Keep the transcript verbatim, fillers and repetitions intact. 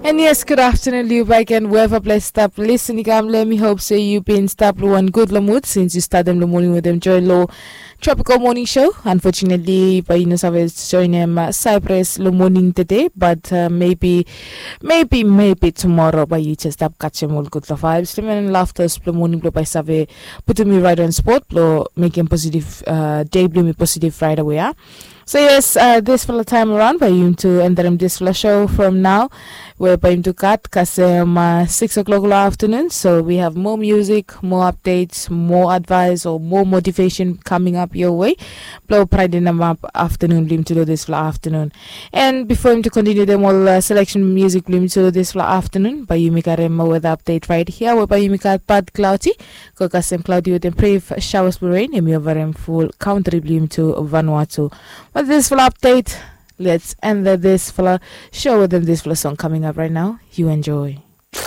And yes, good afternoon, Liu Baiken. Wherever place stop, listen, Igam. Let me hope say you been stop one good lamut since you start them the morning with them joy low tropical morning show. Unfortunately, but you know, I've joined them uh, Cyprus the morning today, but uh, maybe, maybe, maybe tomorrow, but you just stop catching all good vibes. Lim and laughter, the morning blow by Save, putting me right on spot, blow making positive uh, day, blow me positive right away. Huh? So yes, uh, this for the time around, but you to end them this for the show from now. We're going to cut kasem uh, six o'clock in the afternoon. So we have more music, more updates, more advice, or more motivation coming up your way. Blow pride in them up afternoon, blim to do this for the afternoon. And before him to continue them all uh, selection music, blim to do this for the afternoon, but you make a rem weather update right here, where by you make a bad cloudy. Go kasem cloudy with them brave showers with rain, and we over him full country, blim to Vanuatu. But this for the update. Let's end the, this for the show with them this for the song coming up right now. You enjoy.